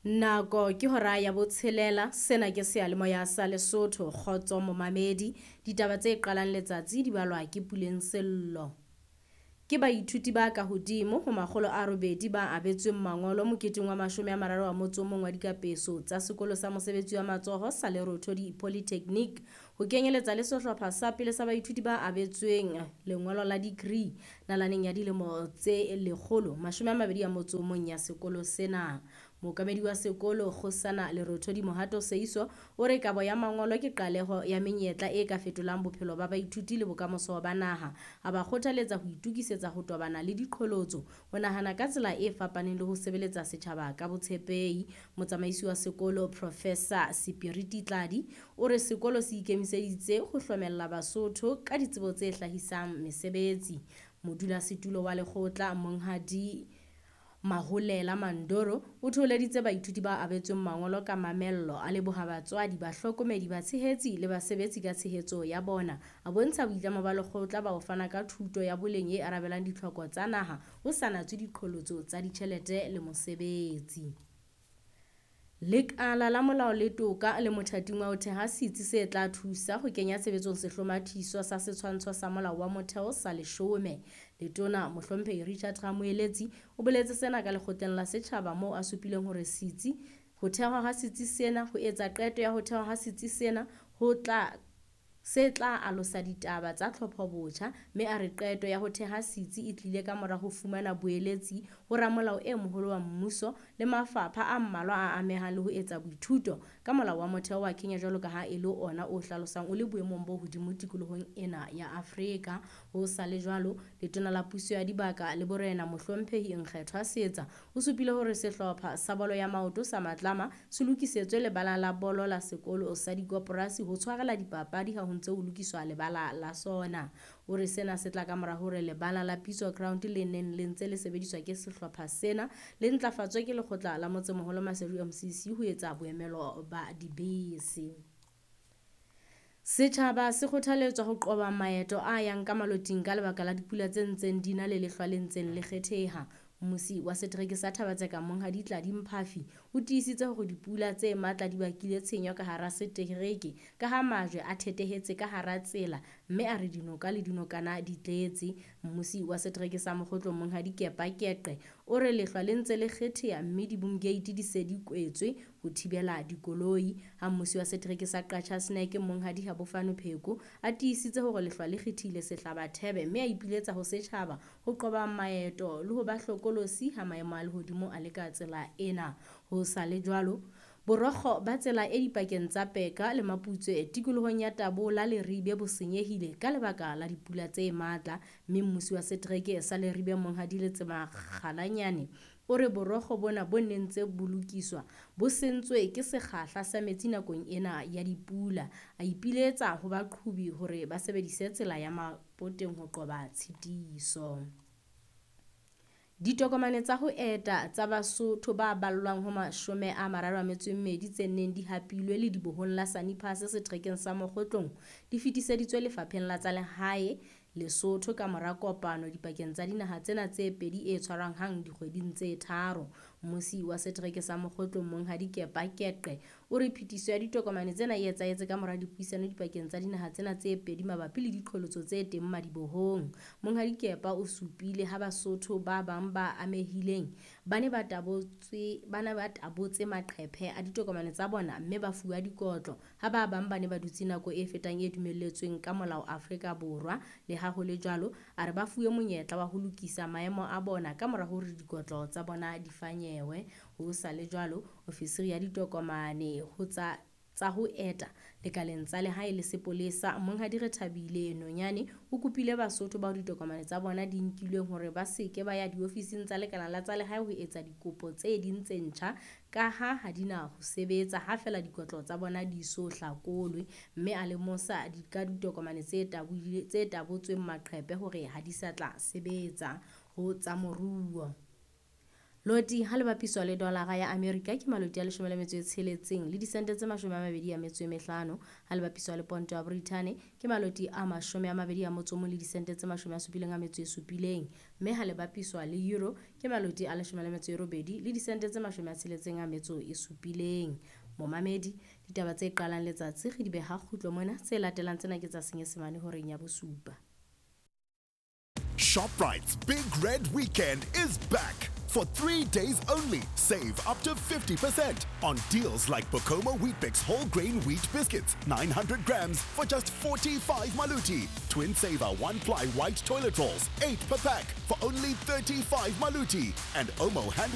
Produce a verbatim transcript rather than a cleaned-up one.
Nako ke hora ya botshelela, sena ke seyalemoya sa Lesotho, Kgotso Momamedi. Ditaba tse qalang letsatsi di balwa ke Puleng Sello. Ke baithuti ba ka hodimo ho makgolo a robedi ba abetsweng mangolo moketeng wa mashome a mararo a motso o mong wa dikapeso tsa sekolo sa mosebetsi wa matsoho sa Lerothodi Polytechnic, ho kenyeletsa le sehlopha sa pele sa baithuti ba abetsweng lengolo la degree nalaneng ya dilemo tse lekgolo mashome a mabedi a motso o mong ya sekolo sena. Mookamedi wa sekolo Kgosana Lerothodi Mohato Seiso o re kabo ya mangolo ke qaleho ya menyetla e ka fetolang bophelo ba baithuti le bokamoso ba naha. A ba kgothaletsa ho itokisetsa ho tobana le diqholotso, ho nahana ka tsela e fapaneng le ho sebeletsa setjhaba ka botshepehi. Motsamaisi wa sekolo Professor Sepiriti Tladi o re sekolo se ikemiseditse ho hlomella Basotho ka ditsebo tse hlahisang mesebetsi. Modulasetulo wa lekgotla Monghadi Maholela Mandoro o thoholeditse baithuti ba abetsweng mangolo ka mamello, a leboha batswadi, bahlokomedi, batshehetsi le basebetsi ka tshehetso ya bona. A bontsha boitlamo ba lekgotla ba ho fana ka thuto ya boleng e arabelang ditlhoko tsa naha ho sa natswe diqholotso tsa ditjhelete le mosebetsi. Lekala la Molao le Toka le mothating wa ho theha setsi se tla thusa ho kenya tshebetsong sehlomathiso sa setshwantsho sa Molao wa Motheo sa leshome. Letona Mohlomphehi Richard Ramoeletsi o boletse sena ka lekgotleng la setjhaba moo a supileng hore setsi ho thehwa ha setsi sena ho etsa qeto ya ho thehwa ha setsi sena ho tla se tla alosa ditaba tsa tlhopho-botjha, mme a re qeto ya ho theha setsi e tlile ka mora ho fumana boeletsi ho ramolao e moholo wa mmuso le mafapha a mmalwa a amehang le ho etsa boithuto ka Molao wa Motheo wa Kenya jwalo ka ha e le ona o hlalosang o le boemong bo hodimo tikolohong ena ya Afrika. Ho sa le jwalo, Letona la Puso ya Dibaka le Borena Mohlomphehi Nkgethwa Seetsa o supile hore sehlopha sa bolo ya maoto sa Matlama se lokisetswe lebala la bolo la sekolo sa dikoporasi ho tshwarela dipapadi ha ho ntse ho lokiswa lebala la sona. O re sena se tla ka mora hore lebala la Pitso Ground le neng le ntse le sebediswa ke sehlopha sena le ntlafatswe ke lekgotla la Motsemoholo Maseru M C C ho etsa boemelo ba dibese. Setjhaba se kgothaletswa ho qoba maeto a yang ka maloting ka lebaka la dipula tse ntseng di na le lehlwa le ntseng le kgetheha. Mmusi wa setereke sa Thaba-Tseka Monghadi Tladi Mphafi o tiisitse hore dipula tse matla di bakile tshenyo ka hara setereke ka ha majwe a thetehetse ka hara tsela, mme a re dinoka le dinokana di tletse. Mmusi wa setereke sa Mokgotlong Monghadi Kepa Keqe o re lehlwa le ntse le kgetheha mme di-boom gate di se di kwetswe ho thibela dikoloi. Ha mmusi wa setereke sa Qacha's Nek Monghadi Habofano Pheko a tiisitse hore lehlwa le kgethile sehlabathebe mme a ipiletsa ho setjhaba ho qoba maeto le ho ba hlokolosi ha maemo a lehodimo a le ka tsela ena. Ho sa le jwalo, borokgo ba tsela e dipakeng tsa Peka le Maputswe tikolohong ya Tabola Leribe bo senyehile ka lebaka la dipula tse matla, mme mmusi wa setereke sa Leribe Monghadi Letsema Kgalanyane o re borokgo bona bo neng ntse bo lokiswa bo sentswe ke sekgahla sa metsi nakong ena ya dipula. A ipiletsa ho baqhobi hore ba sebedise tsela ya Mapoteng ho qoba tshitiso. Ditokomane tsa ho eta tsa Basotho ba ballwang ho mashome a mararo a metso e mmedi tse neng di hapilwe ledibohong la Sani Pass seterekeng sa Mokgotlong di fetiseditswe Lefapheng la tsa Lehae Lesotho ka mora kopano dipakeng tsa dinaha tsena tse pedi e tshwarwang hang dikgweding tse tharo. Mmusi wa setereke sa Mokgotlong Monghadi Kepa Keqe o re phetiso ya ditokomane tsena e etsahetse ka mora dipuisano dipakeng tsa dinaha tsena tse pedi mabapi le diqholotso tse teng madibohong. Monghadi Kepa o supile ha Basotho ba bang ba amehileng ba ne ba tabotse, ba ne ba tabotse maqephe a ditokomane tsa bona mme ba fuwa dikotlo, ha ba bang ba ne ba dutse nako e fetang e dumelletsweng ka molao Afrika Borwa. Le ha ho le jwalo, a re ba fuwe monyetla wa ho lokisa maemo a bona ka mora hore dikotlo tsa bona di fanyewe. Ho sa le jwalo, ofisiri ya ditokomane ho tsa tsa ho eta lekaleng tsa lehae le sepolesa Monghadi Rethabile Nonyane o kopile Basotho bao ditokomane tsa bona di nkilweng hore ba se ke ba ya diofising tsa lekala la tsa lehae ho etsa dikopo tse ding tse ntjha ka ha ha di na ho sebetsa ha feela dikotlo tsa bona di so hlakolwe, mme a lemosa ka ditokomane tse taboile, tse tabotsweng maqephe hore ha di sa tla sebetsa. Ho tsa moruo, Loti ha le bapiswa le dolara ya Amerika ke maloti a leshome le metso e tsheletseng le disente tse mashome a mabedi a metso e mehlano. Ha le bapiswa le ponto ya Britain ke maloti a mashome a mabedi a motso o mong le disente tse mashome a supileng a metso e supileng. Mme ha le bapiswa le euro ke maloti a leshome le metso e robedi le disente tse mashome a tsheletseng a metso e supileng. Momamedi, ditaba tse qalang letsatsi re di beha kgutlo mona, tse latelang tsena ke tsa Senyesemane horeng ya bosupa. ShopRite's Big Red Weekend is back. For three days only, save up to fifty percent on deals like Bokomo Weet-Bix whole grain wheat biscuits, nine hundred grams for just forty-five maluti. Twin Saver one-ply white toilet rolls, eight per pack for only thirty-five maluti. And Omo hand